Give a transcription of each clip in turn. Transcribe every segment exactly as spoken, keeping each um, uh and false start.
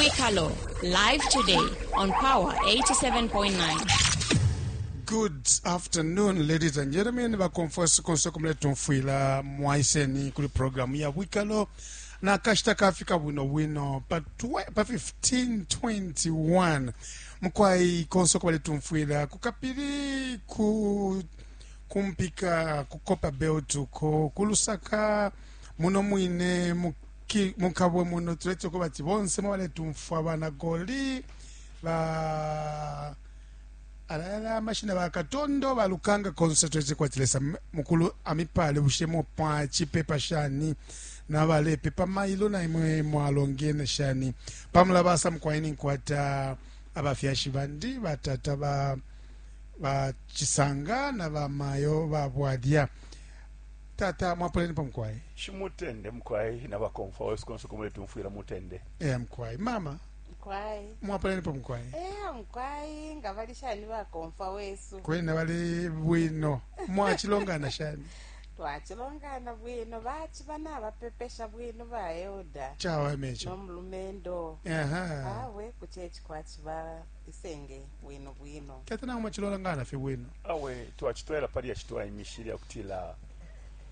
Ubwikalo, live today on Power eighty-seven point nine. Good afternoon, ladies and gentlemen. Bakomfwesi konse kumuletumfwila, mwaiseni kuli programu ya Bwikalo. Na kashita kafika bwino bwino pa, pa fifteen twenty-one. Mukwai konse kubaletumfwila kukapili, ku kumpika, ku Copperbelt, ko kulusaka muno mwine muki- mukabwe muno, tulete ko bati bonse mwabaletumfwa, banagoli ba alala amashina, bakatondo, balukanga, konse twete kwatilesa mukulu amipale. Bushemo pa chipepa shani nabalepepa mailo na imwe mwalongene shani pamulabasa? Mukwaini nkwata abafyashi bandi, batata ba bachisanga na bamayo babwadya. Tata, mwapoleni pa mukwai. Shimutende mukwai, na bakomfa wese konse kumuletumfwila, mutende. E mukwai. Mama? Mkwai. Mwapoleni pa mukwai. Eh, mkwai, nga bali shani bakomfa wesu? Kwena bali bwino. Mwachilongana shani? Twachilongana bwino, bachi bana bapepesha bwino ba elder. Chawa mecho. Nomulumendo. Aha. Awe, kuchechi kwachiba isenge bwino bwino. Tata, nangu mwachilongana fye bwino? Awe, twachitwela pali yachitwaimishile yakutila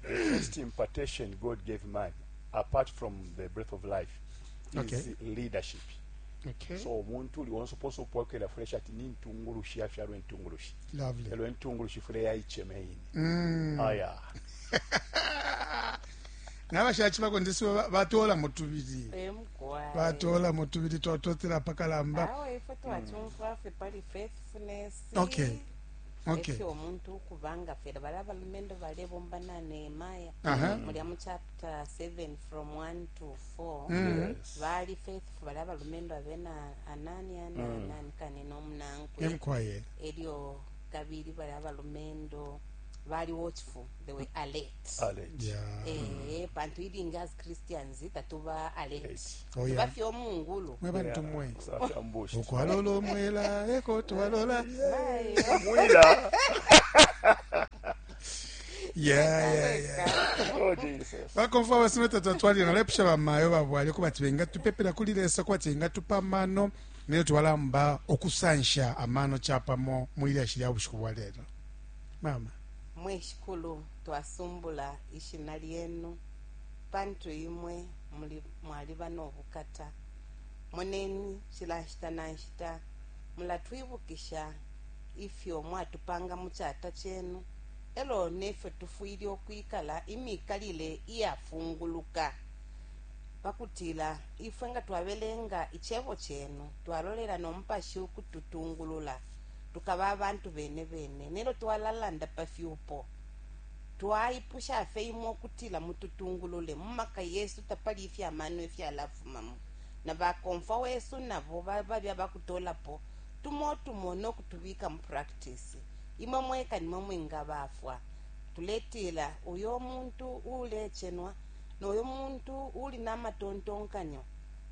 the first impartation God gave man apart from the breath of life is Okay. leadership. Okay so omuntu uli wonse oposa upokela fresh ati ni ntungulushi, yafyalwa entungulushi. Lovely. Elo entungulushi fule yayicheme ine. mm. Aya. Nabashachi bako ndisi batola mutubili. Eh, mkwai. Batola mutubili, twatotela pakalamba. Awe, ifwe twachumfwa fye pali faithfulness. Okay. Okay. Efyo omuntu ukubanga fera bali abalumendo balebomba na Nehemiah. Aha. Mulya mu chapter seven from one to four. Mm. Yes. Bali faithful bali abalumendo abena Anania na nani kani n'omunankwe. Emkwaye. Elyo kabili bali abalumendo bali watchful, they were alert. Alert. Yeah. Eh, pantu ilingi as Christians tatuba alert. Alert. Oh, yeah. Tuba fye omungulu. Mwe bantu mwe. Safyambushi. Ukwalola omwela eko twalola. Mwila. yeah yeah yeah Oh Jesus. Bakomfa basime, tata, twalina lepusha bamayo babwali kuba benga tupepela kuli Lesa kuba benga tupa amano neyo twalamba okusansha amano chapamo mwilyashi lya bushiku bwa lelo. Mama. Mweshikulu, twasumbula ishina lyenu pantu imwe muli- mwaliba n'obukata. Moneni cila nshita na nshita mulatwibukisha ifyo mwatupanga mu kyata kyenu, elo nefyo tufwile okwikala imikalile iyafunguluka, pakutila ifwe nga twabelenga icebo chenu, twalolela nomupashi ukututungulula, tukaba abantu bene bene. Nelo twalalanda pa fyupo, twaipusha fe imwe okutila mututungulule mumaka yesu. Tapali ifyamano ifyalafumamo, na bakomfa wesu nabo babya bakutolapo tumo tumo nokutubika mu practice. Imwe mweka nimwe mwingabafwa. Tuletila uyo muntu ulechenwa noyo muntu uli namatontonkanyo,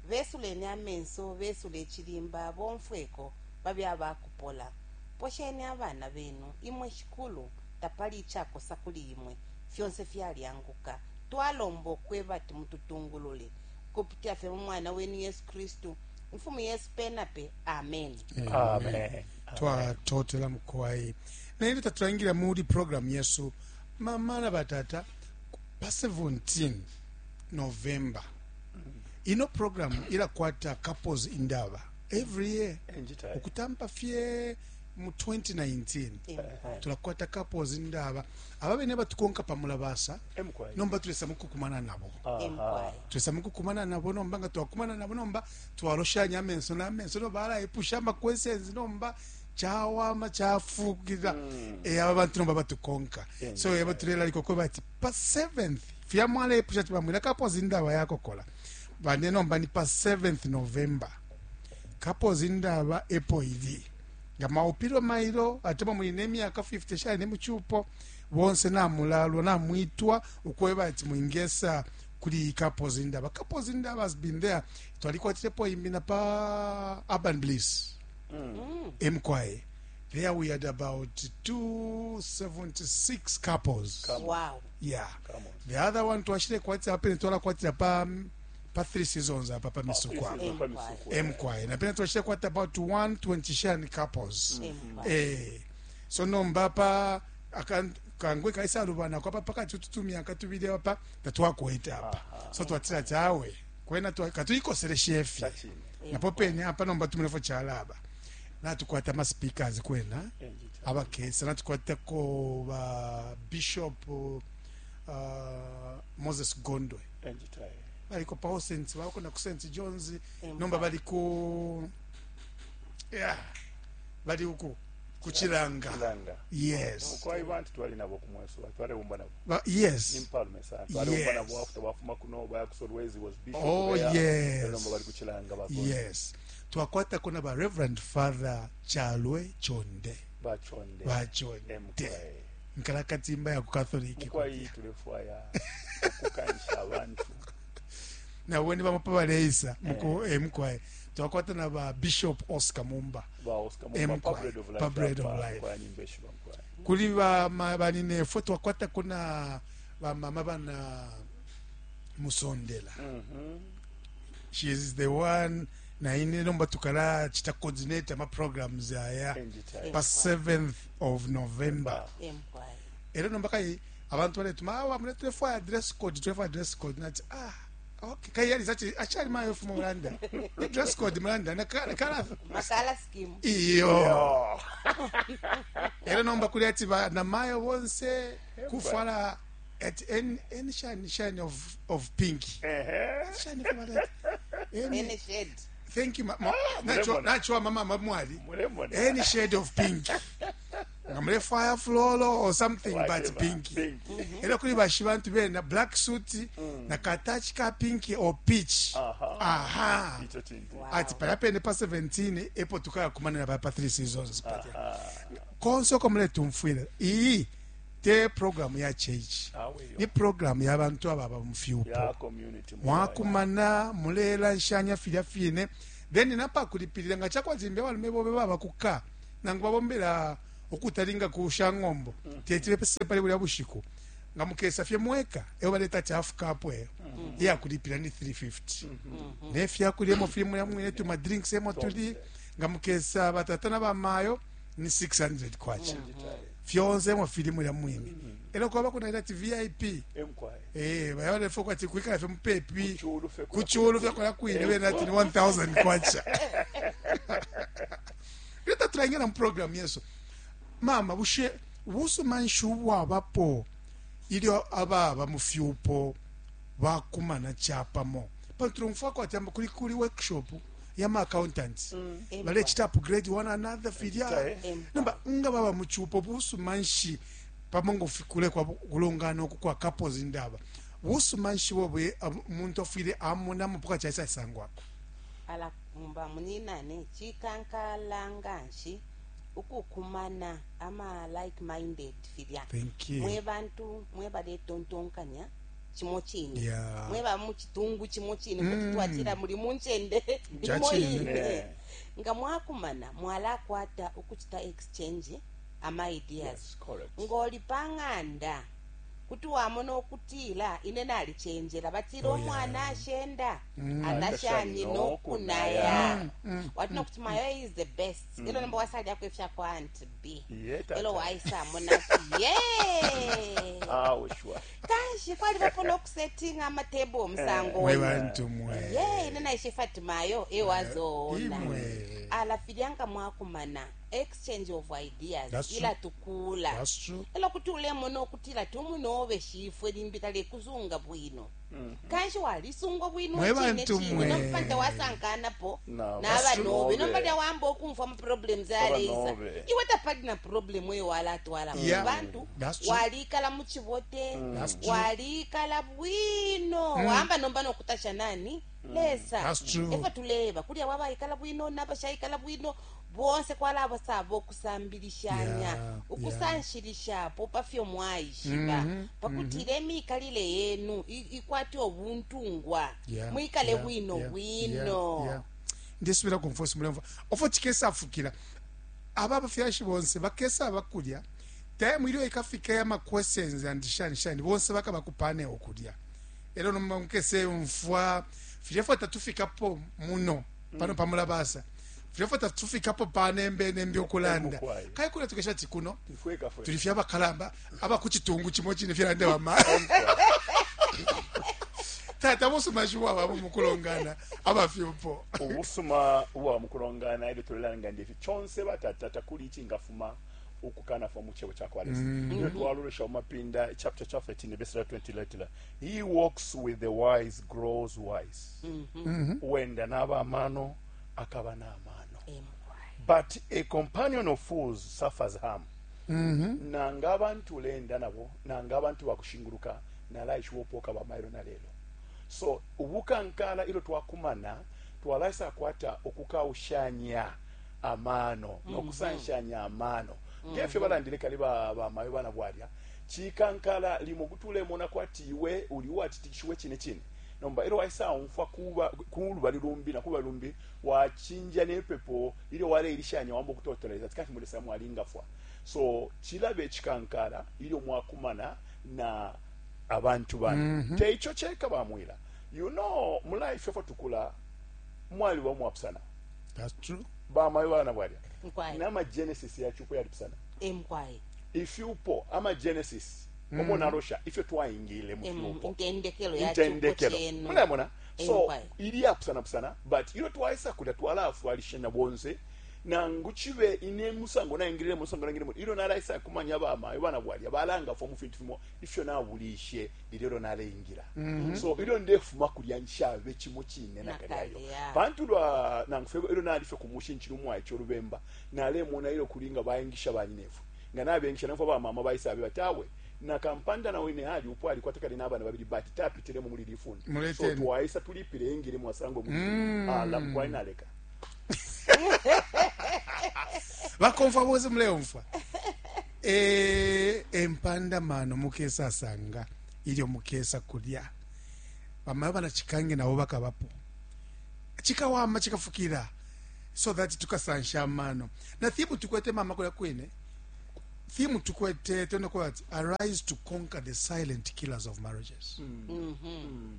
besuleni amenso, besule echilimba, bomfweko babya bakupola. Posheni abana benu imwe shikulu, tapali ichakosa kuli imwe, fyonse fyalyanguka. Twalomba okweba ati mututungulule kupitira fye mu mwana wenu Yesu Kristu, mfumu yesu penape. Amen. Amen. Twatotela mukwai. Naye tatulangila muli program yesu. Mama na batata, pa seventeen November ino program ilakwata Couples Indaba every year. Enjita. Okutampa fye mu twenty nineteen tulakwata Couples Indaba. Aba bene batukonka pamulabasa. Emkwai. Nomba tulesa mukukumana nabo. Emkwai. Tulesa mukukumana nabo. Nomba nga twakumana nabo, nomba twaloshanya amenso n'amenso, nomba balaipusha ama questions, nomba chawama chafukira mm. E aba bantu nomba batukonka. Yeah, so eba tulela likoko bati pa seventh fya mwalaipusha ati bamwila Couples Indaba yakokola bane. Nomba ni pa seventh November Couples Indaba epo ili. Nga maupilo mailo ate muli nemyaka fifty shali muchupo, bonse namulalwa namwitwa ukweba ati mwingesa kuli Couples Indaba. Couples Indaba has been there. Twalikwatilepo imbi na pa Urban Bliss emkwaye. There we had about two hundred seventy-six couples. Come on. Wow. Yeah. Come on. The other one twashile kwatira apene twalakwatira pa pa three seasons apa pa misuku apa. Pa misuku. Emkwaye napena twashile kwata about one twenty shani couples. Emkwaye. Eh, so nomba pa akan- kangwe kaisalubana kwapa pakati tutumyaka tubili apa tatwakwete apa, so twatila ati awe kwena twa- katuikoseleshe fye. Chachine. Napo pene apa nomba tumulefo chalaba natukwata ama speakers kwena abakesa, natukwatako ba Bishop uh, Moses Gondwe baliko pa Saint, bako na ku Saint John's. Empire. Nomba bali ku, yeah, bali uku kuchilanga. Chilanga. Yes. Kwai bantu twali nabo kumweso, twalewumba nabo. Ba, yes. Impalume sana twalewumba Yes. nabo after bafuma kuno baya kusolwezi was bishop Oh, there. yes. Nomba bali kuchilanga bagonde. Yes, twakwatako na ba Reverend Father Chalwe Chonde. Bachonde. Bachonde. Emkwaye. Nkalakatimba ya ku Catholic. Mukwayi tulefwaya okukansha abantu. Nabo ni bamupa baleisa muku emkwaye. Twakwata na ba Bishop Oscar Mumba. Ba Oscar Mumba, Emkwaye. pa Bread of Life. Pa Bread of apa, Life. kwa nyimbeshi ba mkwaye. Kuli ba ma- baninefwe twakwata kuna bamama bana Musondela. Mhm. She is the one naine nomba tukala chita coordinate ama programs aya Enjita. pa seventh of November. Emkwaye. Era nomba kai abantu baletuma awa mune tulefwaya dress code, tulefwaya dress code. Nati ah, okay, kai yali sachi achali mayo fumo mulanda ni dress code mulanda na kala kala Makala scheme. iyo. Oh. Era nomba kuli ati ba na mayo bonse kufwala at any any shine shine of of pink. Ehe. Shine for that any. Any shade. Thank you, ma, ma, nacho mulemona. Nacho mama mamwali. Mulemona. Any shade of pink, ngamule fire flolo or something, but Whatever. pink. Pink. Era kuli bashi bantu bena black suit na katachi ka pink or peach. Aha. Aha. Icho chintu. Wow. Ati palapene pa seventeen epo tukaya kumanira pa pa three seasons palya konse oko muletumfwila. Iyi te program ya church, Awe yo. ni program ya bantu ababa mufyupo. Ya community mukwaye. Mwakumana mulela nshanya filya fine, then napakulipilira nga chakwazimbya balume bobe baba kuka nangu babombera okutalinga ku shang'ombo tetile pese pali bulya bushiku nga mukesa fye mweka eyo baleta ti half cup eyo iyakulipira ni three fifty nefyakulya emo fili mulya mwine tuma drinks emo tuli. Nga mukesa batata na bamayo ni six hundred kwacha, fyonse emo fili mulya mwine. Elo kwaba kunaita ti V I P. Emkwaye. Eh, bayabale kwati kuikala fye mupepi. Kuchulu fye kula. Kuchulu fye kola kwine bena ati ni one thousand kwacha. Leta tulaingena mu program yesu. Mama, bushe busuma nshi ubwabapo ilyo ababa mu fyupo bakumana chapamo? Pantu tulumfwa kwati amba kuli kuli workshop ya ma accountants balechita upgrade one another filya. Ejita, Nomba nga baba mu chupo, busuma nshi pamo ngo fikule kwa kulongana uku kwa couples indaba, busuma nshi bobwe umuntu afwile amona mupuka chaisa sangwako? Ala mba muninane chikankala nganshi ukukumana ama like minded filya. Thank you. Mwe bantu mwe baletontonkanya chimo chine, Yeah. mwe ba muchitungu chimo chine, kuti twatila muli munchende imo Chachine. ine. Yeah. Nga mwakumana mwalakwata ukuchita exchange ama ideas. Yes, correct. Ngoli pang'anda kuti wamona okutila ine nalichenjera batila. Oh, yeah. Omwana ashenda Atashani anashani nokunaya. nokunaya watina kuti mayo is the best. Elo nomba wasalyako ifyako Aunt B. Ye, tata. Elo waisamona ati ye. Ah, sure. Kanshi kwalivapo nokusetinga amatebo omusango. Mwe bantu mwe. Ye, ine naishe Fatimayo ewazoona. Imwe. Ala filyanga mwakumana exchange of ideas That's true. ila tukula. That's true. Elo kuti ulemona okutila tumunobe shifwe limbi talekuzunga bwino, kanshi walisungwa bwino. Mwe Chine bantu chine mwe. nomupanta wasankanapo Na nabanobe banobe. nomba lyawamba okumfwa ama-problems aleisa. Abanobe. Iwe tapali na problem eyo walatwala mu Yeah. bantu. That's true. Walikala muchibote. That's true. Walikala bwino, wamba nomba nokutasha nani lesa. That's true. Efo tuleba kulya wabayikala bwino nabashayikala bwino bonse kwalabo sabo okusambilishanya, Yeah, ukusanshilishapo pafyo mwaishiba pakutila emikalile yenu i- ikwate obuntungwa. Yeah, Mwikale yeah, bwino yeah, bwino. yeah, yeah. Ndisubira kumfosi mulemva ofo chikesafukira aba abafyashi bonse bakesa abakulya time ilyo ikafika ya ma questions and shani shani bonse bakaba kupane okulya. Ero nomba mukese mfwa Filya fwe tatufikapo muno pano pamulabasa, filya fwe tatufikapo panembe nembe okulanda Emukwai. kai kuna tukesha ati kuno Mfweka fwe. tuli fye abakalamba abakuchitungu chimo chine fyalande bama tata busuma shiwababo mukulongana abafyupo. Ubusuma ubwa mukulongana ilyo tulelanga ndifi chonse batata takuli ichingafuma ukukanafa mu chebo cha kwa Lesa. Ilyo twalolesha mumapinda chapter cha thirteen verse twenty letila, he walks with the wise grows wise. Uwenda n'abamano akaba n'amano. But a companion of fools suffers harm. Nanga abantu lenda nabo, nanga abantu bakushinguruka nalaishiwa opoka bamailo na lelo. So ubukankala ilo twakumana twalaisa kwata okukaushanya amano nokusanshanya amano ngefyo balandile kali ba bamayo bana bwalya chikankala limo kutulemona kwati iwe uli watitikishiwe chine chine nomba ilo waisa umfwa kuba kulubali lumbi na kuba lumbi wachinja nepepo ilyo waleilishanya wambo kutoteleza tikati mulesa mwalingafwa. So chilabe chikankala ilyo mwakumana na abantu bana mm -hmm. Teicho cheka bamwila, you know, mu life efo tukula mwali wa mwapsana. That's true. Bamayo bana bwalya Mkwai. nama genesis yachupo yalipsana Emkwai. ifyupo ama genesis mm. Omo narosha ifyo twaingile mu fyupo Intendekelo ya chupo intendekelo chenu. mulamona. So Emkwai. ili yapusana pusana but ilo twaisa kulya twalafwalishana bonse nangu chibe ine musango naingilile musango naingilile ilo nalaisa kumanya bamayo bana bwalya balanga fo mu fintu fimo ifyo nabulishe lilelo naleingira. Mm -hmm. So ilo ndefuma kulya nshabe chimo chine nakalyayo Nakalya. pantu lwa nangufeko ilo nalife kumushinchira umwaicho lubemba nalemona ilo kulinga baingisha banyinefu nga nabengisha nafo ba mama baisabe batawe nakampanda na wene hali upo alikuwa takali n'abana babiri but tapitiremo muri lifundi. Muleteni. So twaisa tulipire ingire mwasango muri mm. Ala mkwai naleka bakomfa bose muleumfwa. E, empanda mano mukesa sanga ilyo mukesa kulya bamayo banachikange nabo bakabapo chikawama chikafukira so that tukasansha amano na thimu tukwete mama kulya kwine thimu tukwete tena kwa ati arise to conquer the silent killers of marriages. Mm.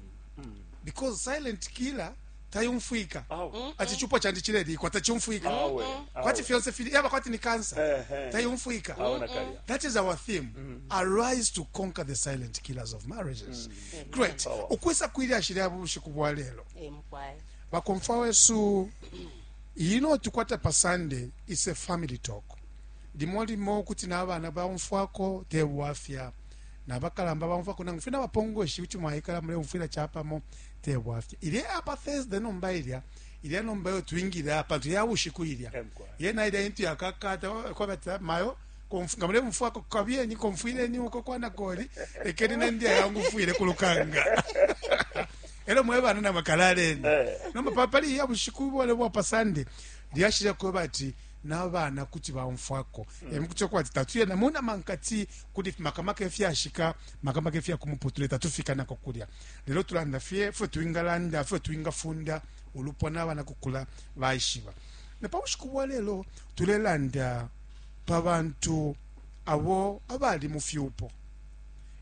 Because silent killer tayumfwika. Awe. Ati chupa chandi chilelikwa tachumfwika. Awe, Kwati awe. fyonse fili yaba kwati ni cancer. Ehe. Tayumfwika. Awe nakalya. That is our theme. Arise to conquer the silent killers of marriages. Great. Power. Ukwisa kwili ashiri bushiku bwa lelo. Emkwai. Bakomfa wesu ino tukwata pa Sunday is a family talk. Limo limo kuti n'abana baumfwako tebwafya nabakalamba baumfwako nangu fye bapongoshi kuti mwaikala muleumfwila chapamo tebwafya ilye apa Thursday nomba ilya ilya nomba yo twingila pantu ya bushiku ilya Emkwai. yena ilya intu yakakata kwabata mayo komf- nga mulemufwako kabyeni komfwileni uko kwana koli lekeni nendiya yangufwile kulukanga elo mwebana na makalaleni Eh. nomba papali ya bushiku bwale bwa pa Sunday lyashile kweba ati n'abana kuti baumfwako mm. Emukuti kwati tatuye namuna mankati kuli makamaka efyashika makamaka efyakumuputule tatufika nako kulya lelo tulanda fye fwe twingalanda fwe twingafunda ulupwa n'abana kukula baishiba na pa bushiku bwa lelo tulelanda pa bantu abo abali mu fyupo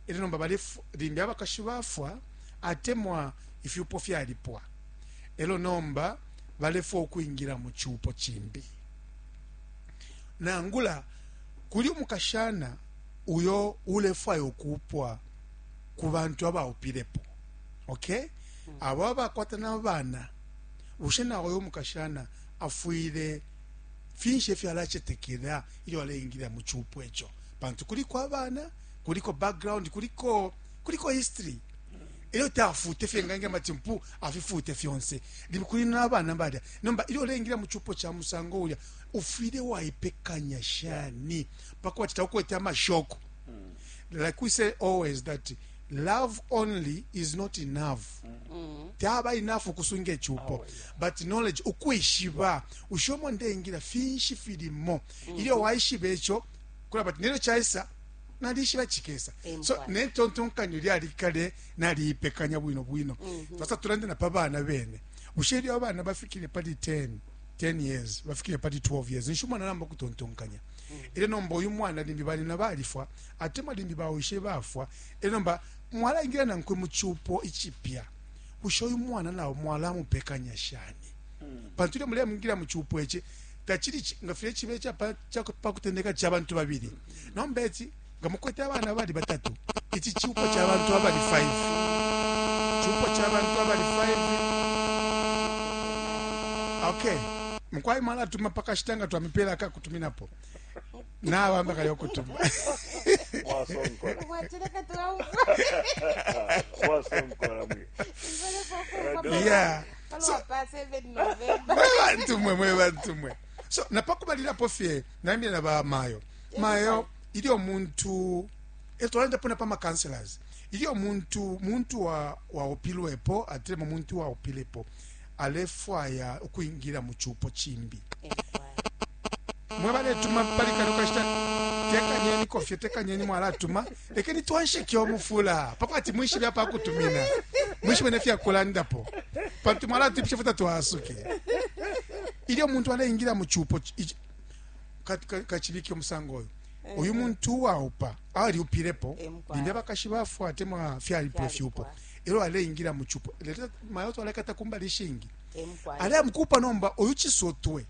elo nomba balefu limbi abakashi bafwa atemwa ifyupo fyalipwa elo nomba balefwa okwingira mu kyupo kimbi nangula kuli umukashana uyo ulefwayo okupwa ku bantu abaupilepo, okay? Abo abakwata n'abaana bushe nawe uyo umukashana afwile finshi efyo alachetekera ilyo aleingira mu kyupo ekyo pantu kuliko abaana kuliko background kuliko kuliko history ilyo tafute fye ngange mati mpu afifute fyonse libi kuli n'abaana balya nomba ilyo oleingira mu kyupo kya musango ulya ufwile waipekanya shani paka wati taukwete amashoko. Like we say always that love only is not enough. Taba enough ukusunga ekyupo but knowledge ukwishiba ushomo ndeingira finshi filimo ilyo waishiba ekyo kula but nelyo kyaisa nalishiba chikesa so Empwa. nentontonkanyo lyalikale naliipekanya bwino bwino. Twasa tulande na pa bana bene bushe ilyo abana bafikile pali ten ten years bafikile pali twelve years nisho umwana namba kutontonkanya ile nomba uyu mwana limbi balina balifwa atemwa limbi bawishe bafwa ile nomba mwalaingira nankwe mu kyupo ichipya Bushe uyu mwana nawo mwalamupekanya shani? Pantu ilyo mulemwingira mu cupo ici tacili nga filya cibe pakutendeka ca bantu babili. Nomba ici nga mukwete abana bali batatu, ici cupo ca bantu abali five, cupo ca bantu abali five. Okay, mukwai mwalatuma pakashita nga twamipela akakutuminapo nabamba kali okutuma. Mwasonkola. Mwachileka tuwa- Mwasonkola mwe. Yeah. Palo pa seven November. Mwe bantu mwe, mwe bantu mwe. So napakubalilapo fye nambile na ba mayo mayo, ilyo muntu etwalandapo na pa counselors, ilyo muntu muntu wa waupilwepo atilemo muntu waupilepo alefwaya ukwingira mu cupo chimbi, mwe baletuma pali kano kashita, tekanyeni kofye, tekanyeni mwalatuma, lekeni twanshike omufula pakwati mwishibe apakutumina, mwishibe nefyakulandapo, pantu mwalatwipisha futa twasuke. Ilyo muntu aleingira mu cupo kachibike omusango oyo, uyu muntu waupa aliupilepo, limbi abakashi bafwa atemwa fyalipwa fyupo, elo aleingira mu cupo lero mayo twalekata kumbali shingi alemukupa nomba uyu chisotwe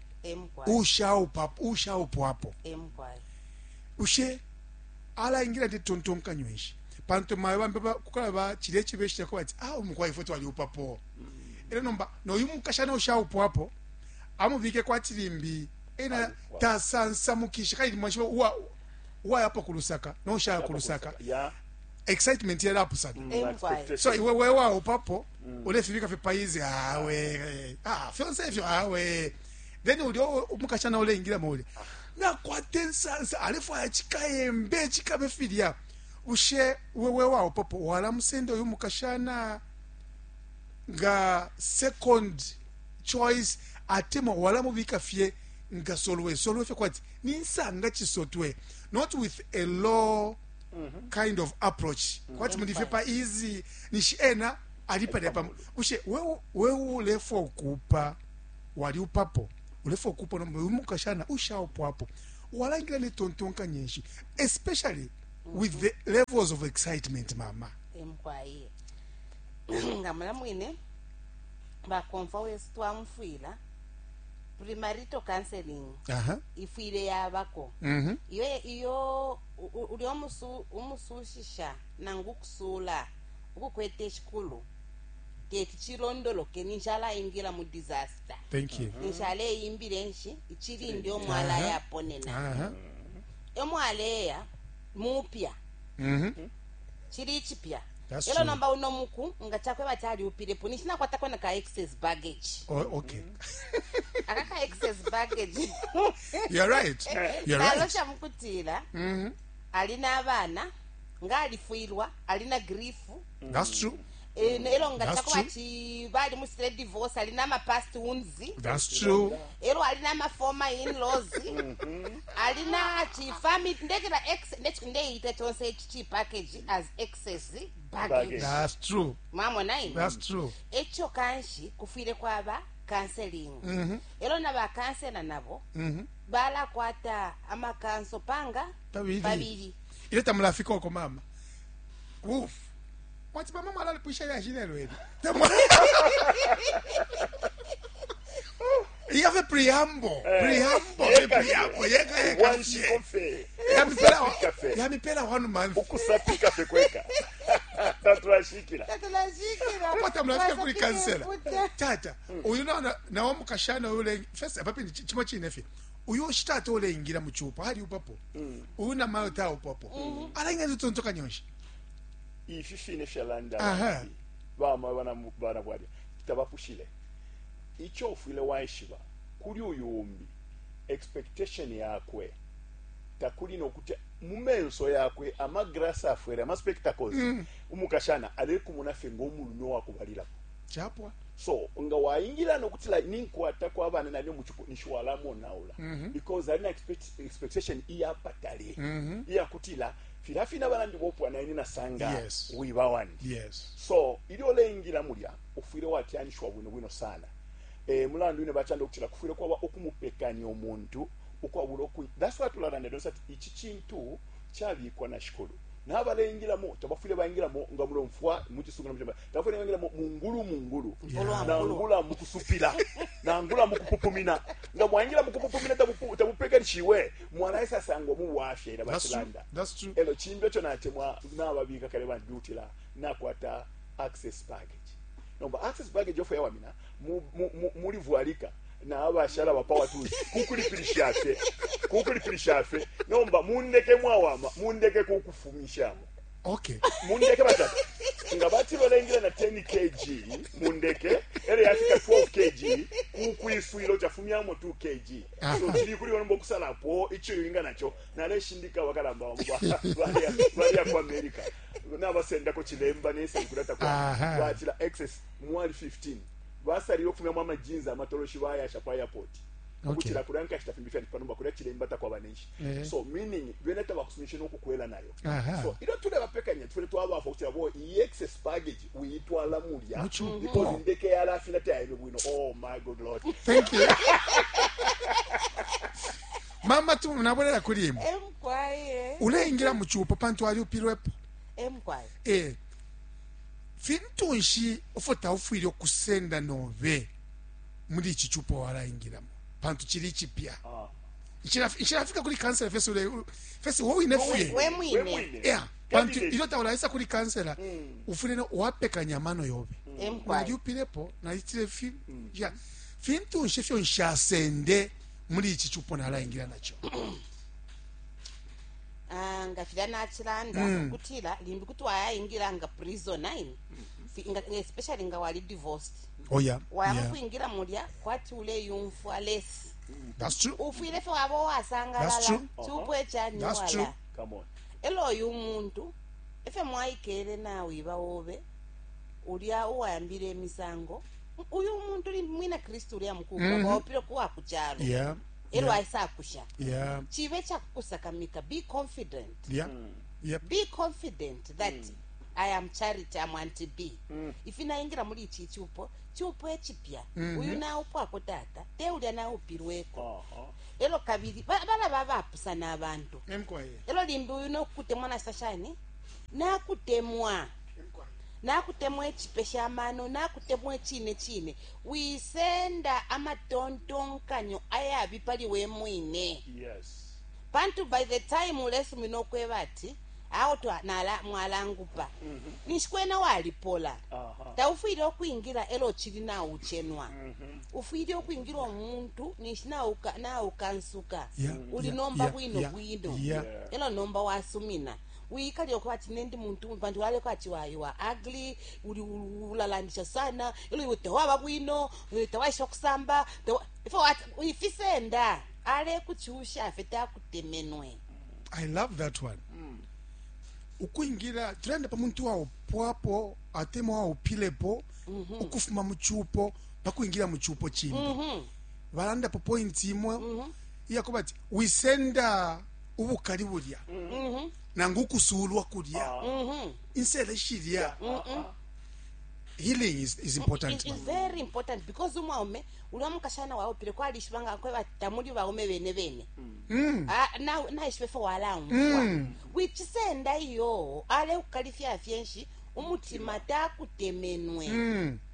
ushaupa ushaupwapo ushe alaingira ndi tontonkanyo ishi, pantu mayo bambe kukala ba chile chibeshita ko bati ah umukwa ifwe twaliupapo. Elo nomba noyu mukashana ushaupwapo amubike kwa tilimbi ena tasansamukisha kaili mwashiba uwa uwayapo kulusaka no ushaya kulusaka Yeah. excitement yalapusana. Mm, expectation. So iwe wewe waupapo ulefibika fipaizi awe ah fyonse ifyo awe, then ulio umukashana uleingira muli nakwate nsansa alefwaya chikayembe chikabe filya. Ushe wewe waupapo walamusenda uyu mukashana nga second choice atema walamubika fye nga solwe solwe fye kwati ninsanga chisotwe, not with a low kind of approach kwati mulife pa easy nishi ena alipa pa ushe wewe wewe ulefo okupa wali upapo ulefo okupa no mukashana ushaupo hapo walangira ne tontonka nyenshi, especially with the levels of excitement mama. Emukwaye nga mulamwine bakomfa wesu twamufwila premarital counseling aha ifwile yabako mhm iyo iyo uli omusu umusushisha nangu kusula ukukwete shikulu teti chilondoloke ninjala ingira mu disaster. Thank you. Ninjala eyimbile nshi ichilindi omwala Aha. yaponena aha omwaleya mupya mhm chili chipya. That's Elo true. nomba uno muku nga chakwe batali upilepo nishinakwatako na ka excess baggage. Oh, okay. Aka ka excess baggage. You're right, you're right. Nalosha mukutila mhm alina abana nga alifwilwa alina grief. That's true. Eh, elo nga That's chakwe bati bali mu straight divorce alina ama past wounds. That's true. Elo alina ama former in-laws, alina chi family ndekera ex ndeita chonse chi package as excess baggage. Baggage. That's true. Mwamona ine That's true. echo kanshi kufwile kwaba counseling. Mhm. Elo na ba counselor nabo mhm balakwata amakanso panga Pabili. pabili. Ile tamulafika oko mama. Uf. Mwati mama mwalalipisha ya shine lweli. Il y avait preamble, preamble, Yeka. preamble, yeka yeka. Wanshikofe. Yamipela, Kafe. yamipela one month. Ukusapika fe kweka. Tatulashikila. Tatulashikila. Pata mlafika kuli Wasapike kansela. mfuta. Tata, uyu na na wamukashana ule first apapi chimo chine fye. Uyu shitata ule ingira mu chupa hali upapo. Uyu na mayo ta upapo. Alainga zitontoka nyonshi. Ifi fine fyalanda. Aha. Bama bana bana bwalya. Tabapushile. Icho ufwile waishiba kuli uyu umbi expectation yakwe takuli nokuti mumenso yakwe amagrasi afwere ama spectacles mm. umukashana alekumuna fye ng'omulume wakubalilapo. Chapwa. So nga waingira nokuti like ninkwata kwa bana nalyo muchupo nishwalamonaula mm -hmm. because alina expect, expectation iyapatale mm -hmm. iyakutila filafina bana ndibopwa naine nasanga Yes. wiba wandi. Yes. So ilyo leingira mulya ufwile watyanishwa bwino bwino sana. Eh mulandu ine bachanda okutila kufwile kwaba okumupekanya omuntu ukwabula oku that's why tulalanda donsa ati ichi chintu chabikwa na shikulu Nabalengilamo tabafwile baingilamo nga mulomfwa muchisungu na muchamba tabafwile baingilamo mungulu mungulu Yeah. nangula mukusupila nangula mukupupumina nga mwaingila mukupupumina tabupu- tabupekanishiwe mwanaisa sangwa mubwafya ila That's true. bachilanda That's true. elo chimbi echo natemwa nababika kale bandyutila nakwata access package nomba access package ofo yawamina mu- mu- mu- mulivwalika nabashala ba power tools kukulipilisha fye kukulipilisha fye nomba mundeke mwawama mundeke kukufumishamo Okay. mundeke batata nga bati balengela na ten kilograms mundeke ere yafika twelve kilograms kukwiswilo chafumyamo two kilograms. So chili kuli onomba okusalapo icho yoinga nacho naleshindika bakalamba bamo ba- balya balya ku America nabasendako chilemba nesenkulata kwa Aha. batila excess mwali fifteen basalile okufumyamo amajinzi amatoloshi bayasha pa airport Okay. ukuchila kulya nkashita fimbi fyali panomba kulya chilemba takwaba nenshi. Eh. So meaning bene tabakusumishe nokukwela nayo. Aha. So ilo tulebapekanya tufele twabafa kutila bo iyi excess baggage uyitwala mulya Mucho. because indeke yalafina tayaibe bwino. Oh my good Lord. Thank you. Mama tu nabonera kuli imwe. Emkwaye. Uleingira mu chupo pantu aliupilwepo. Emkwaye. Eh. Fintu nshi ofo taufwile okusenda nobe muri ichi chupo waraingiramo pantu chiri chipya. Ah. Nshirafika kuli kansela fesi ule fesi wowe inefye. We mwine. Yeah. Pantu ilyo taulaisa kuli kansela ufwile no wapekanya amano yobe. Emkwaye. Naliupilepo nalitile fi ya fintu nshi fyo nshasende muri ichi chupo naraingira nacho. Ah, nga filya nachilanda kutila limbi kuti wayaingira nga prison nine. Fi- nga- especially nga wali divorced Oh yeah. wayama Yeah. kuingira mulya kwati uleyumfwa less. That's true. Ufwile fe waba That's wasangalala true. chupo echani That's true. wala Come on. elo oyu umuntu efe mwaikele nawiba wobe ulya uwayambile emisango uyu umuntu limbi mwina Kristu ulya mukulu mm -hmm. waupile kuwa kuchalo Yeah. elo Yeah. aisakusha Yeah. chive chakukusakamika. Be confident. Yeah. Yep. Be confident that I am Charity, am Auntie B. Ifi naingira muri ichi chupo chupo echipya uyu naupwako tata te ulya naupilweko. Aha. Elo kabili ba- balaba bapusana abantu. Emkwaye. Elo limbi uyu nokukutemwa nasashani nakutemwa nakutemwa echipesha amano nakutemwa echine chine wisenda amatontonkanyo ayabi pali we mwine. Yes. Pantu by the time ulesumina okweba ati awo twa- nala- mwalangupa ninshi kwena walipola. Aha. Taufwile okwingira elo chili nauchenwa ufwile okwingira omuntu ninshi nauka- naukansuka Yeah, uli yeah, nomba yeah, bwino yeah, bwino. yeah. Elo nomba wasumina wiikali okuba ati nendi muntu pantu waleko ati wayiwa ugly uli ulalandisha sana elo iwe tewaba bwino eh, tewaisha okusamba tewa- ifo wati- ifisenda ale kuchusha ffe takutemenwe. I love that one. Ukwingira tulanda pa muntu waupwapo atema waupilepo ukufuma muchupo pakwingira muchupo chimbi balandapo point imwe iyakuba ati wisenda ubukali bulya nangu ukusulwa kulya insele shilya. Healing is, is important. It is very important because umwaume ulwa mukashana waupile kwalishibanga kweba tamuli baume bene bene. Ah, na naishibe fe walamfwa wichisenda iyo ale kukalifya fyenshi umutima takutemenwe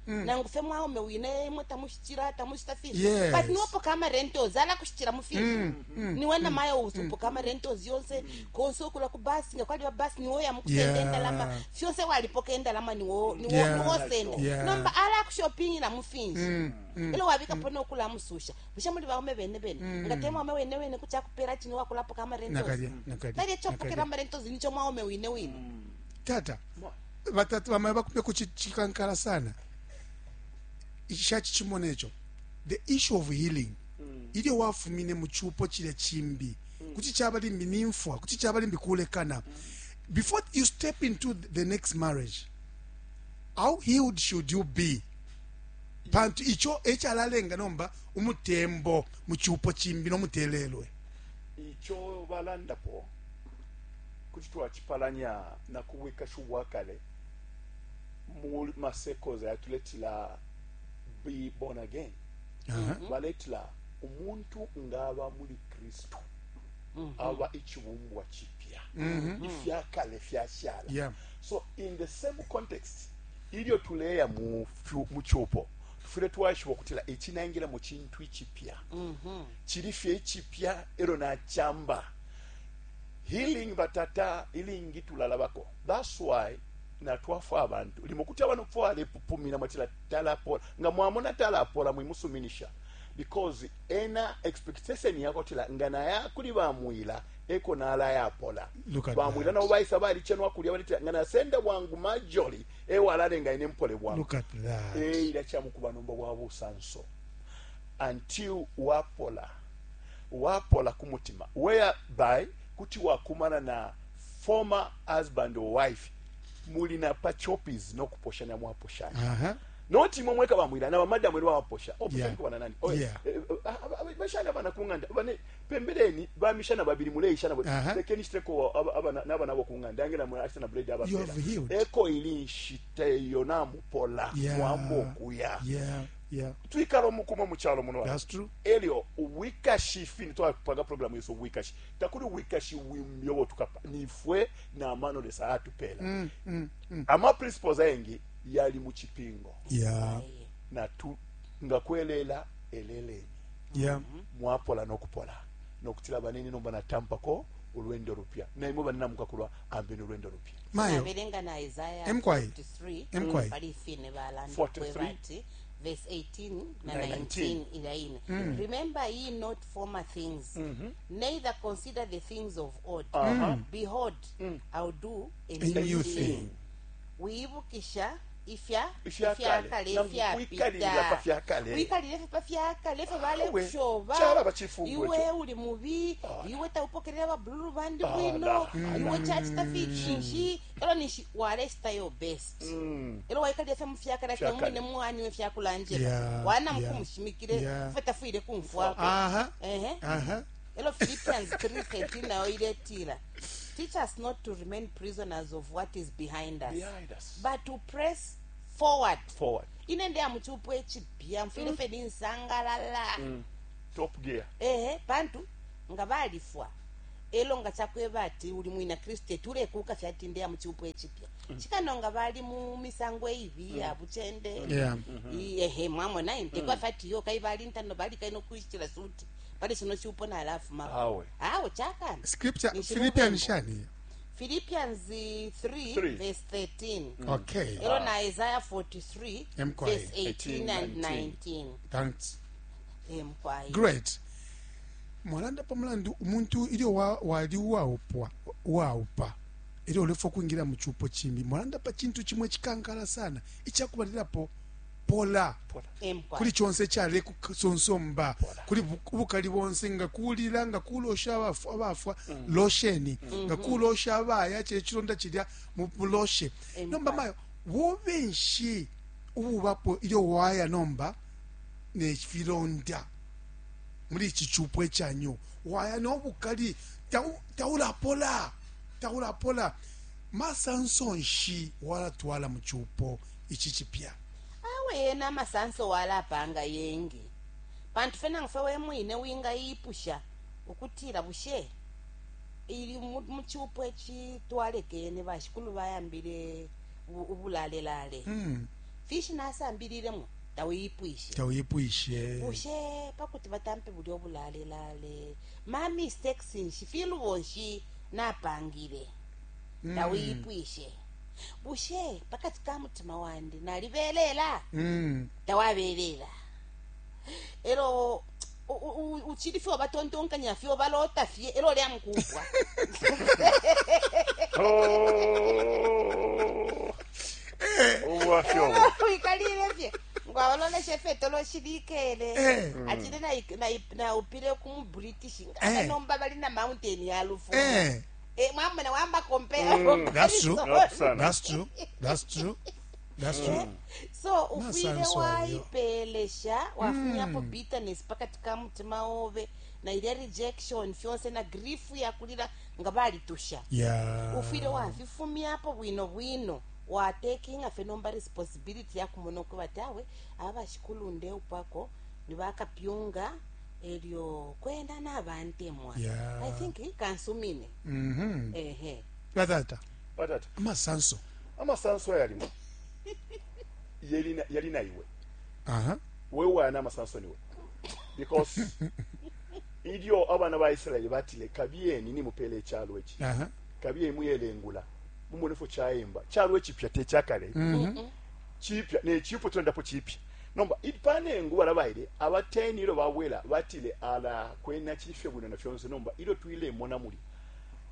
nangu fe mwaume wine imwe tamushitira tamushita finshi. Yes. But niwopoka amarentos ala kushitira mufinshi niwe namayo usopoka amarentos yonse konse okula ku basi nga kwaliba basi niwo yamukusenda Yeah. endalama fyonse walipoka endalama niwo niwo Yeah. niwosenda. Yeah. Nomba ala kushopingira mufinshi elo wabikapo nokulamususha bushe muli baume bene bene nga te mwaume wene wene kuchakupera chino wakulapoka amarentos Nakalya, nakalya, nalye chopokera nakalya. amarentos nicho mwaume wine wine. Tata batatu bamaye bakumye kuchikankala sana shachichimona echo the issue of healing ilyo wafumine muchupo chile chimbi kuti chaba limbi nimfwa kuti chaba limbi kulekana before you step into the next marriage, how healed should you be pantu icho echalalenga nomba umutembo muchupo chimbi nomutelelwe? Icho balandapo kuti twachipalanya na kubwikashi bwakale mu masekoza yatuletila be born again. Aha. Baletila umuntu ngaba muli Kristu. Aba ichibumbwa chipya. Ifyakale fyashala. Yeah. So in the same context, ilyo tuleya mu fyu- mu chupo tufwile twaishiba ukutila ichi naingira mu chintu ichipya. Chili fye ichipya ero nachamba. Healing batata ilingi tulalabako. That's why natwafwa abantu limo kuti abantu kufwa alepupumina mwatila talapola nga mwamona talapola mwimusuminisha because ena expectation yako tila nga naya kuli bamwila eko nala yapola. Look at bamwila that. nabo baisa balichenwa kulya balitila nga nasenda bwangu majoli ewalalenga ine mpole bwangu. Look at that. Eira kyamukuba nomba bwa busanso until wapola wapola ku mutima, whereby kuti wakumana na former husband or wife muli na pa choppies nokuposhanya mwaposhanya. Aha. Noti imwe mweka bamwila na bamadamu eri babaposha. Yeah. Oposhani kubana nani? Oye, Yeah. eh, eh, ah, ah, bashana bana kunganda bane pembeleni bamishana babiri muleishana bo. Aha. Lekeni shiteko aba- abana n'abana bo kunganda angela mwe ashana bread aba You have healed. eko ili nshite yo namupola. Yeah. Mwambokuya. Yeah, yeah. Twikala omukumo mu kyalo muno. That's true. Elyo ubwikashi fini twapanga program yeso ubwikashi takuli ubwikashi bwimyobo tukapa nifwe na mano lesa atupela. Mm, mm, mm. Ama principles ayengi yali mu chipingo. Yeah. Na tu nga kwelela eleleni. Yeah. Mwapola nokupola nokutila banene nomba natampako olwendo lupya naimwe banene mukakulwa ambeni olwendo lupya. Mayo. Nabelenga na Isaiah Emkwai. forty-three Emkwai. pali fine balanda forty-three. bati verse eighteen na Na nineteen ila ine. Remember ye not former things, neither consider the things of old. Uh-huh. Behold, I'll do a A new new thing. thing. Wiibukisha ifya Ifyakale. ifyakale Namwikalilira pa fyakale. wikalile fye pa fyakale fye Awe, balekushoba kyalaba kifungo iwe ekyo. uli mubi, iwe taupokelela babululu bandi Ala, bwino, ala. iwe chachita fichinshi elo nishi walechita your best elo waikalile fye mufyakale fye Fyakale. mwine muwaniwe fyakulanjira Yeah, wana yeah. mukumushimikile Yeah. fye tafwile kumfwako. Aha. Ehe. Aha. Elo Philippians three thirteen nayo iletila, teach us not to remain prisoners of what is behind us, Behind us. but to press forward. Forward. Ine ndi amuchiupo echipya mfile fe ninsangalala. Top gear. Ehe, pantu nga balifwa elo nga chakweba ati uli mwina kristu etulekuka fyati ndi amuchiupo echipya chikano nga bali mu misango eibi ya buchende. Yeah. I- ehe mwamona intekwa fati yo kai bali ntano bali kaino kuichira suti pali chino chiupo na alafu mako. Awe. Awe chakana. Scripture Ni Philippians chilubembo. shani. Philippians three, Three. verse thirteen. Okay. Elo na Isaiah forty-three Emkwai. verse eighteen and nineteen. Thanks. Emkwai. Great. Mwalanda pamulandu umuntu ilyo wa- wali uwaupwa uwaupa ilyo ulefa kwingira mu chupo chimbi mwalanda pa chintu chimwe chikankala sana ichakubalilapo pola Emkwai. kuli chonse chale kusonsomba kuli bu- ubukali bonse nga kulila nga kulosha abafwa abafwa losheni nga kulosha abaya chile chilonda chilya mu muloshe. Emkwai. Nomba mayo bubenshi ububapo ilyo waya nomba ne filonda muri iki cupo ecyanyu waya n'obukali tau- taulapola taulapola masansonshi walatwala mu cupo ichi chipya. Awe yena amasanso walapanga yengi pantu fena ngife wemwine wingayipusha ukutila bushe ili mu- muchupo echi twalekene bashikulu bayambile u- ubulalelale mm. fishi nasambililemo tawiyipwishe. Tawipwishe. Bushe pakuti batampe bulya obulalelale ma mistakes nshi filubo nshi napangile tawiyipwishe bushe pakati ka mutima wandi nalibelela mm. tawabelela elo u- u- u- uchili fye obatontonkanya fye obalota fye elo lya mukupwa. Oh. Ubwafya obwo. Wikalile fye ngwabaloleshe fye toloshilikele Eh. achile naupile kumu British Eh. nomba bali na mountain ya lufu. Eh. Eh, mwamona wamba compare. That's true. Sana. That's true. That's true. That's true. So ufwile Masanso ayo. waipelesha wafunyapo bitterness pakati ka mutima obe na ilya rejection fyonse na grief yakulila nga balitusha. Yeah. Ufwile wafifumyapo bwino bwino watekinga fe nomba responsibility yakumona ukuba ati awe abashikulu ndeupako nibakapyunga Elyo kwena nabantemwa. Yeah. I think kansumine. Mhm. Ehe. Batata, Batata, amasanso. Amasanso ayalimo yali yali na iwe. Aha. Wewe wana amasanso niwe, because ilyo abana ba Israeli batile, "Kabiyeni nimupele ichalo ichi," Aha. "Kabiyeni muyelengula mumone fo chayemba chalo echipya techakale chipya nechipo tulendapo chipya." Nomba ipanengu balabaile abateni ilo babwela batile, "Ala kwena chifye bwino na fyonse, nomba ilo twilemona muli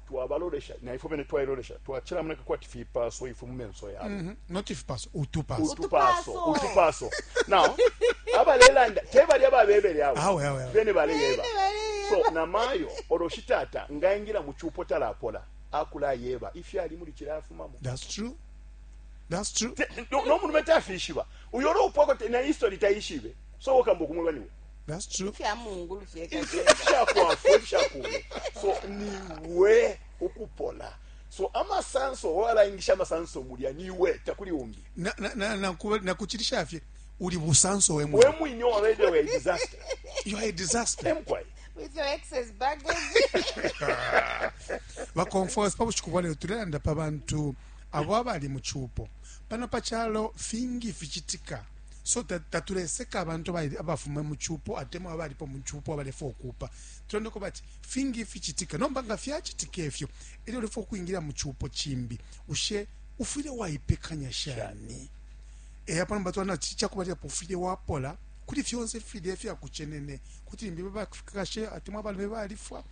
twabalolesha na ifo bene twailolesha twachila kwati fipaso ifo mumenso yabo." Mhm. Not ifipaso, utupaso. Utupaso. Utupaso. Utupaso. Now abalelanda tebali ababebele abo. Awe, awe, awe. Bene baleyeba. Bene baleyeba. So namayo oloshitata ngaingira muchupo talapola akulayeba ifyali muli chilafumamo. That's true. That's true. Nomuntu metafishiba uyo olupwako na history taishibe, so wakamba okumweba niwe. That's true. Fya mungulu fyeka. Ifishakwafwa ifishakume, so niwe ukupola. So amasanso walaingisha amasanso mulya niwe, takuli umbi. Na na na na kuba- na kuchilisha fye uli busanso we We mwe. mwine already we disaster. You are a disaster. Emkwai. With your excess baggage. Bakomfors, pa bushiku bwa lero tulelanda pa bantu abo abali mu chupo pano pa chalo, fingi fichitika. So ta- tatuleseka abantu abali- abafuma mu chupo atemwa abalipo mu chupo abalefa okupa. Tulondeko bati fingi fichitika. Nomba nga fyachitika ifyo, elyo ulefa okwingira mu chupo chimbi, ushe ufwile waipekanya shani? Eya, pano batwana chichakubalirapo ufwile wapola kuli fyonse filye fyakuchenene kuti limbi babakashe atemwa abalume balifwa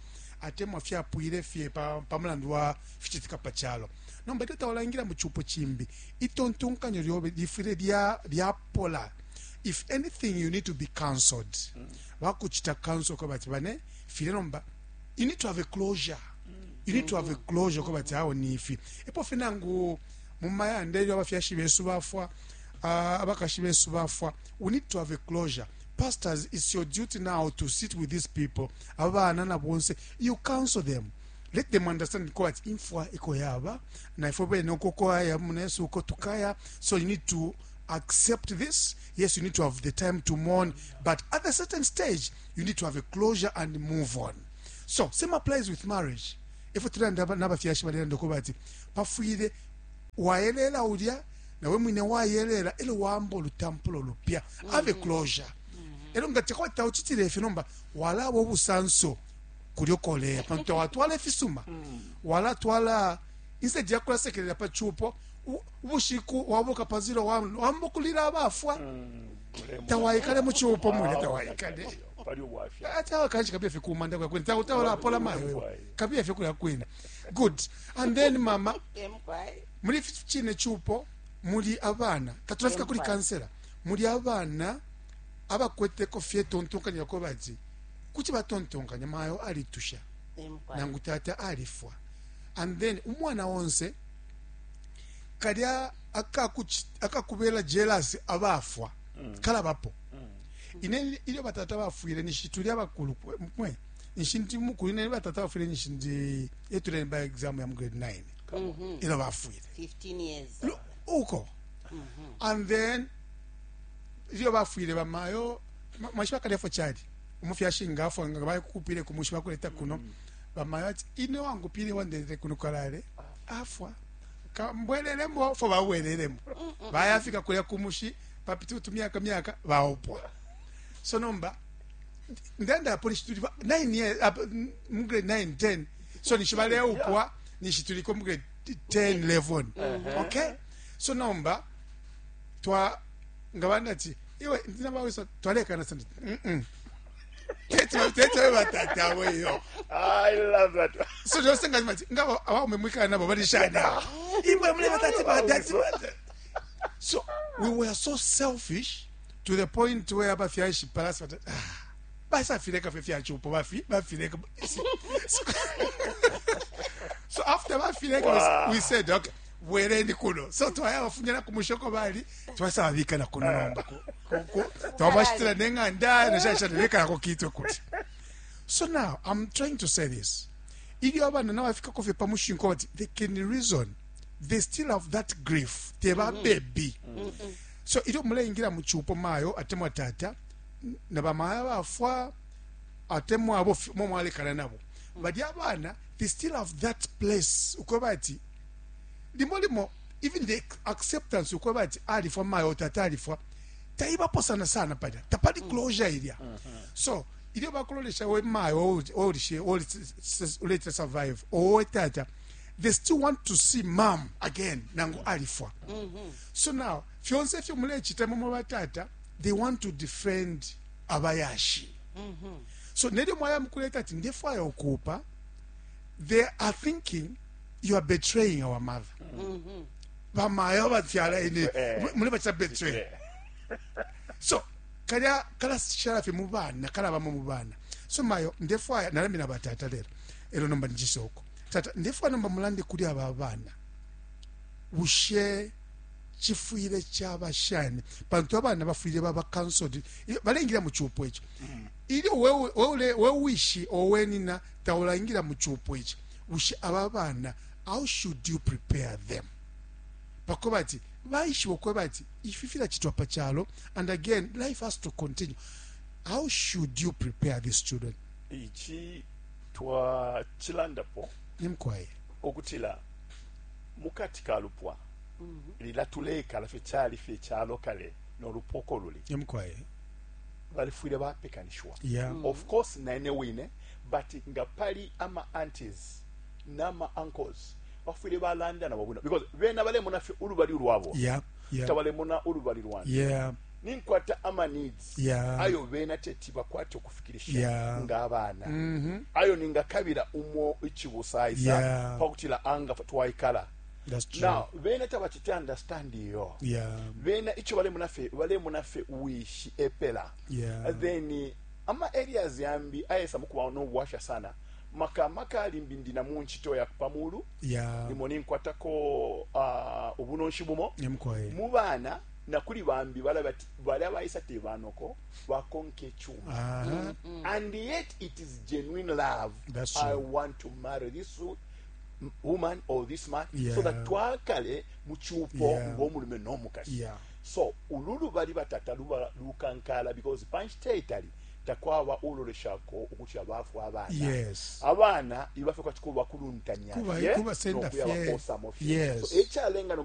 atemwa fyapwile fye pa, pa mulandu wa fichitika pa chalo. Nomba ilyo tawalangira mu chupo chimbi, itontonkanyo lyobe lifwile lya lyapola. If anything, you need to be counseled. Bakuchita counsel ko bati bane file. Nomba you need to have a closure. You need to have a closure ko bati awo nifi epo finangu mumayanda ilyo abafyashi besu bafwa, uh, abakashi besu bafwa, we need to have a closure. Pastors, it's your duty now to sit with these people, abana na bonse. You counsel them, let them understand ko ati imfwa iko yaba na ifo bene uko kwaya munesu uko tukaya. So you need to accept this. Yes, you need to have the time to mourn, but at a certain stage you need to have a closure and move on. So same applies with marriage. Ifo tulanda n'abafyashi balenda ko bati pafwile wayelela ulya nawe mwine wayelela elo wamba olutampulo lupya. Have a closure. Elo nga tekwata uchitile ife, nomba walaba obusanso kulyo koleya pantu tawatwala efisuma walatwala. Instead yakulasekelela pa chupo, u- ubushiku wabuka pazilo wamba kulila abafwa. Tawaikale muchupo mulya, tawaikale. Pali ubwafya. Ati kanchi kabia fye kumanda kwa kwini tawala pola mayo kabia fye kulya kwini. Good. And then mama, Emkwai. muli chine chupo muli abana, tatulafika kuli kansela, muli abana abakweteko fye tontonkanya ko bati kuti batontonkanya mayo alitusha Emkwai. nangu tata alifwa. And then umwana wonse kalya akakuchi- akakubela jealous abafwa kalabapo. Ine ilyo batata bafwile nishi tuli abakulu mwe nishi ndi mukulu. Ine batata bafwile nishi ndi etuleni ba exam ya mu grade nine ilo bafwile. fifteen years. Lo- uko. And then ilyo bafwile bamayo, mwashi bakalefo chali umufyashi ngafwa nga bakupile kumushi bakuleta kuno. Bamayo ati, "Ine wangupile wandetele kuno kalale afwa, kambwelelemo." Fo babwelelemo, bayafika kulya kumushi papita utumyaka myaka baopwa. So nomba ndanda polisi tuli nine years up, mu grade nine ten, so nishi baleupwa nishi tuliko mu grade ten eleven. Okay, so nomba twa nga bandati iwe ndinabawisa twalekana sandi mm -mm. Tete tete batata weyo. I love that. So just nga mati nga abaume mwikana nabo balishana imwe mule batati batati. So we were so selfish to the point where abafyashi palasi bata, ah, basafileka fye fyachupo bafi bafileka. so, so after bafileka, Wow. we said, "Okay, bwereni kuno." So twaya bafunyana kumushoko bali twasababika na kuno. Nomba twabashitira neng'anda nashashanebekala kitwe kuti. So now I'm trying to say this: ilyo abana nabafikako fye pamushinko bati they can reason, they still have that grief, teba baby. So ilyo muleingira muchupo mayo atemwa tata na bamaya bafwa. Atemwa abo fi- mo mwalekana nabo balya abana, they still have that place ukweba ati limo limo even the acceptance ukweba ati alifwa mayo, tata alifwa, taibapo sana sana palya, tapali closure ilya. So ilyo bakulolesha we mayo olishe ulete survive owe tata, they still want to see mom again nangu alifwa. So now fyonse ifyo mulechita momwe batata, they want to defend abayashi. So nelyo mwaya mukuleta ati ndefwaya ukupa, they are thinking you are betraying our mother. Bamayo bafyala ine Eh. mule bachita betray. So kalya kalashala fye mu bana, kalabamo mu bana. So mayo ndefwaya nalamina batata lero elo nomba njisoko tata ndefwaya nomba mulande kuli aba bana, bushe chifwile chaba shani? Pantu abana bafwile baba counseled balengila mu chupo icho. Ilyo wewe wewe wewishi owenina taulangira mu chupo ichi, bushe aba bana, how should you prepare them pakuba ati baishiba okweba ati ifi filachitwa pa chalo and again life has to continue? How should you prepare these children? Ichi twachilandapo Nimkwaye. Okutila mukati ka lupwa lila tulekala fye kyali fye ekyalo kale n'olupoko luli Nimkwaye. Balifwire bapekanishwa. Yeah. Of course naine wine, but nga pali ama aunties n'ama uncles bafwire balanda nabo bwino because bena balemona fye olubali lwabo, yeah yeah tabalemona olubali lwange. Yeah ninkwata ama needs Yeah. ayo bena teti bakwate okufikirisha Yeah. ng'abaana, Mhm. ayo ningakabira umo ichibusaisa Yeah. pakutila anga twayikala. That's true. Now bena tabachite understand iyo. Yeah bena icho balemona ffe balemona ffe wishi epela. Yeah. Then ama areas yambi ayesa mukuba n'obuwasha sana maka maka limbi ndina mu nchito ya pamulu, yeah limo ninkwatako uh, obunonshi bumo Nimkwaye. Mu baana nakuli bambi balaba ti bali abayisa tebanoko bakonka ekyuma. Aha. And yet it is genuine love. That's I true. want to marry this wo- woman or this man Yeah. so that twakale mu kyupo Yeah. ng'omulume n'omukazi. Yeah. So olulu bali batata luba lukankala because panchiteitali takwaba uloleshako okutya baafu abaana. Yes. Abaana ibafe kwachikuba bakuluntanya Kuba- fye kubasenda n'okuya fye. bakoosamo fye. Yes. So ekyalenga.